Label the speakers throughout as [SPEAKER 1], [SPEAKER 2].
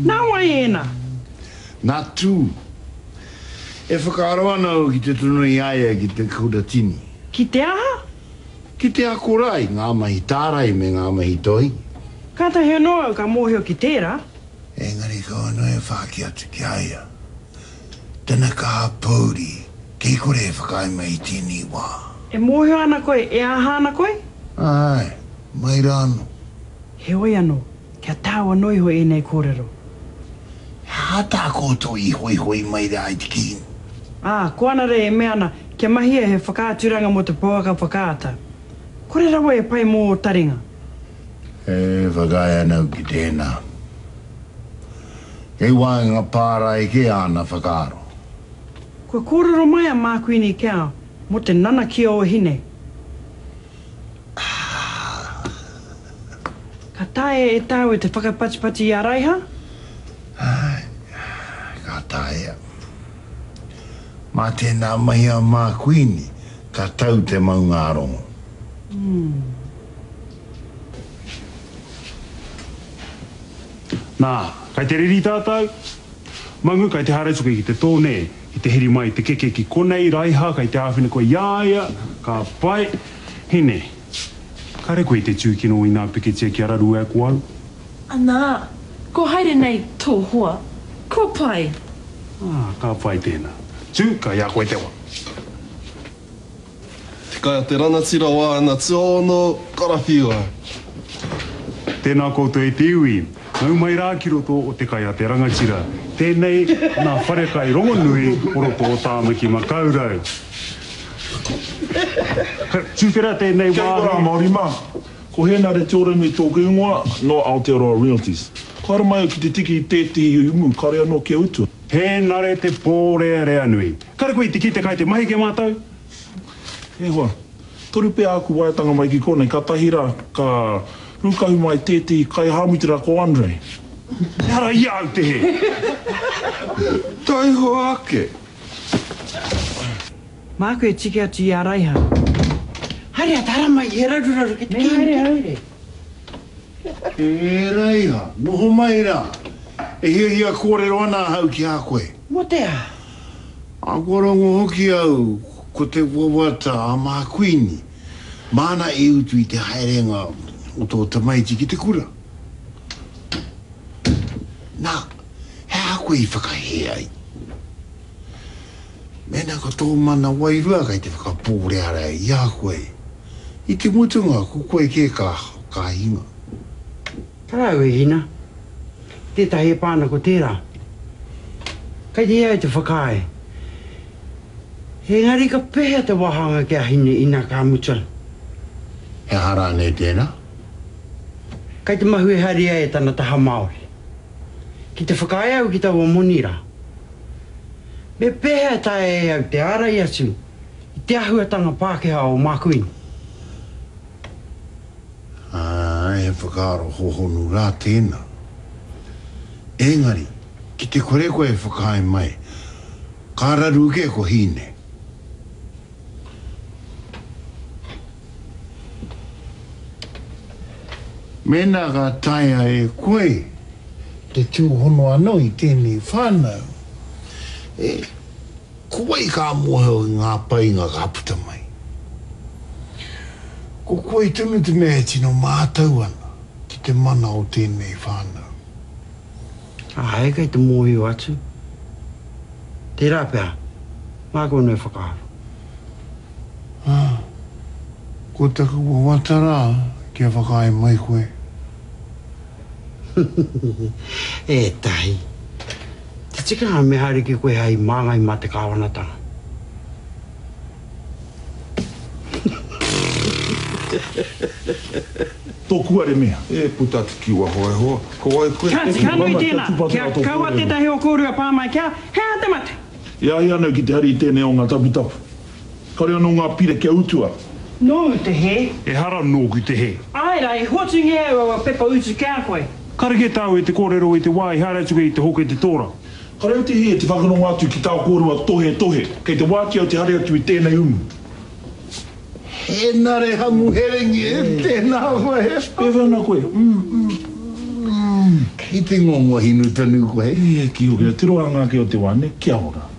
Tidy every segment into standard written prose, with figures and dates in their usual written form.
[SPEAKER 1] Nā wai ēnā?
[SPEAKER 2] Nā Tū. E whakaaro ana au ki te tono i a ia ki te kuratini.
[SPEAKER 1] Ki te aha?
[SPEAKER 2] Ki te ako rā i ngā mahi tārai me ngā mahi toi.
[SPEAKER 1] Kātahi anō au ka mōhio ki tērā.
[SPEAKER 2] Engari kau anō e whāki atu ki a ia. Tana kaha pōuri, kei kore e whakaae mai i tēnei wā.
[SPEAKER 1] E mōhio ana koe e aha ana koe?
[SPEAKER 2] Āe, mai rā anō.
[SPEAKER 1] Heoi anō, kia tāu anō iho ēnei kōrero.
[SPEAKER 2] He aha tā koutou i hoihoi mai rā i te kīngi?
[SPEAKER 1] Ā, ko Anare e mea ana kia mahia he whakaaturanga mō te pouaka whakaata. Kore rawa e pai mō ō taringa.
[SPEAKER 2] E whakaae ana au ki tēnā. Kei waenga pārae kē āna whakaaro.
[SPEAKER 1] Kua kōrero mai a Mākuini Cow mō te nanakia o Hine. Ka taea e tāua te whakapatipati i a Raiha?
[SPEAKER 2] Āe, ka taea. Mā tēnā mahi a Mākuini, ka tau te maungārongo.
[SPEAKER 3] Nā, kai te riri tātou? Mangu, kai te haere atu koe ki te tō, nē? Ki te heri mai te keke ki konei, Raiha, kai te āwhina koe i a ia, ka pai. Hine, kare koe i te tūkino inā pikitia kia raru ai ko au?
[SPEAKER 4] Anā, ko haere nei tō hoa. Kua pai.
[SPEAKER 3] Ā, ka pai tēnā. Tū, kai a koe te wa.
[SPEAKER 5] Te kai a te ranatira o āna tuaono karawhiua.
[SPEAKER 3] Tēnā koutou e te iwi, nau mai rā ki roto o Te Kai a te Rangatira. Tēnei nā wharekai rongonui o roto o Tāmaki Makaurau. Ka tuwhera tēnei
[SPEAKER 6] Kia
[SPEAKER 3] wāhi.
[SPEAKER 6] ora Māori mā. Ko Hēnare Te Oranui tōku ingoa, nō Aotearoa Realties. Kua haere mai au ki te tiki i tētehi umu kāore anō kia utua.
[SPEAKER 3] Hēnare te pōrearea nui. Kare koe i te kite kai te mahi ke mātou?
[SPEAKER 6] E hoa, toru pea āku waeatanga mai ki konei, kātahi rā ka rūkahu mai tētehi kaihāmutera ko Andre.
[SPEAKER 3] Ehara i a au te hē.
[SPEAKER 2] Taihoa ake!
[SPEAKER 1] Māku e tiki atu i a Raiha.
[SPEAKER 7] Haere atu, haramai, he raruraru ki te
[SPEAKER 1] Me haere au.
[SPEAKER 2] E Raiha, noho mai rā. E hiahia kōrero ana ahau ki a koe.
[SPEAKER 7] Mō te aha?
[SPEAKER 2] Ā, kua rongo hoki au ko te wawata a Mākuini, māna e utu i te haerenga o tō tamaiti ki te kura. Nā, he aha koe i whakahē ai? Mēnā ko tō mana wairua kei te whakapōrearea i a koe, i te mutunga ko koe kē ka, ka hinga.
[SPEAKER 7] Tarau e Hina. Tētahi e pā ana ko tērā. Kei te hē au te whakaae. Engari ka pēhea te wāhanga ki a Hine ina ka mutu?
[SPEAKER 2] He aha rānei tēnā?
[SPEAKER 7] Kei te mahue haere ia e tana taha Māori. Ki te whakaae au ki taua moni rā, me pēhea e taea e au te ārai atu i te āhuatanga Pākehā o Mākuini?
[SPEAKER 2] Āe, he whakaaro hōhonu rā tēnā. Engari, ki te kore koe e whakaae mai, ka raru kē ko Hine. Mēnā ka taea e koe te tūhono anō i tēnei whānau, e, ko wai ka mōhio ki ngā painga ka puta mai? Ko koe tonu te mea e tino mātau ana ki te mana o tēnei whānau.
[SPEAKER 7] Āe, kei te mōhio atu. Tērā pea, māku anō e whakaaro.
[SPEAKER 2] Ā, ko taku wawata rā kia whakaae mai koe.
[SPEAKER 7] E Tahi, te tikanga me haere ki koe hei māngai mā te kāwanatanga.
[SPEAKER 6] Tōku are mea.
[SPEAKER 5] E puta atu ki waho e hoa, ko wai koe?
[SPEAKER 1] Kāti, ka nui tēnā, kia kaua tētahi o kōrua pā mai kia, he aha te mate?
[SPEAKER 6] E ai ana au ki te hari i tēnei o ngā taputapu. Kāore anō ngā pire kia utua.
[SPEAKER 1] Nōu te hē.
[SPEAKER 3] Ehara nōku te hē.
[SPEAKER 1] Āe rā, i hoatungia au aua pepa utu ki a koe.
[SPEAKER 3] Kare kē tāu e te kōrero i te wā i haere atu koe i te hoke te tōra.
[SPEAKER 6] Kāore au te hē te whakarongo atu ki tā kōrua tohetohe. Kei te wāki au te hari atu i tēnei umu.
[SPEAKER 2] Henare Hamuherengi, tēnā koe.
[SPEAKER 6] Pēwhea ana koe?
[SPEAKER 2] I te ngongo hinu tonu koe.
[SPEAKER 6] E ki hoki, tiro anga ake o te wa ne, kia ora.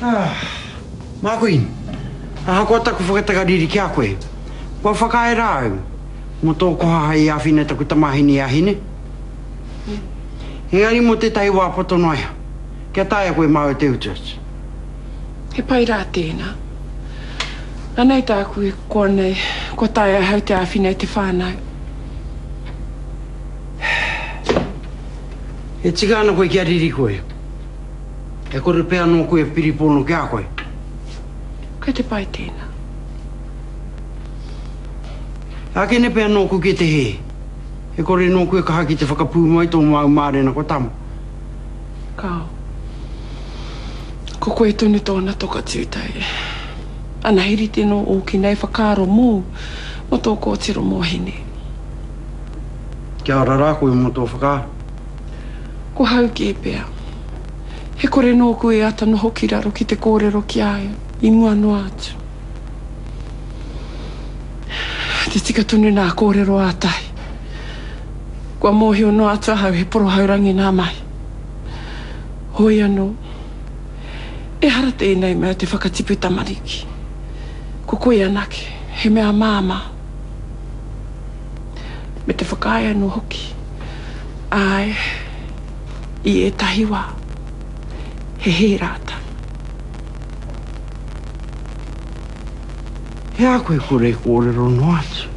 [SPEAKER 7] Ah, Mākuin, ahakoa taku whakatakariri ki a koe, kua whakaae rā au mō tō koha hei āwhina i taku tamāhine i a Hine. Engari mō tētahi wā poto noa iho, kia taea koe māu te utu atu.
[SPEAKER 4] He pai rā tēnā. Anei tāku e koa nei, kua taea ahau te āwhina i te whānau.
[SPEAKER 7] E tika ana koe kia riri koe. E kore pea nōku e piripono ki a koe.
[SPEAKER 4] Kei te pai tēnā.
[SPEAKER 7] Ākene pea nōku ki te hē. E kore nōku e kaha ki te whakapūmau i tō māu mārena kua tama.
[SPEAKER 4] Kāo. Ko koe tonu tōna toka tūtei. Ana he rite nō ōki nei whakaaro mōu, mō tō kōtiro mō Hine.
[SPEAKER 7] Kia ora rā koe mō tō whakaaro.
[SPEAKER 4] Ko hau kē pea. He kore nōku e ata noho ki raro ki te kōrero ki a ia i mua noa atu. Te tika tonu nā kōrero a Tahi. Kua mōhio noa atu ahau he porohaurangi nā mahi. Hoi anō, ehara tēnei mea te whakatipu tamariki. Ko koe anake, he mea māmā. Me te whakaae anō hoki, āe, i ētahi wā, he hē rātou.
[SPEAKER 7] He aha koe kore kōrero noa atu?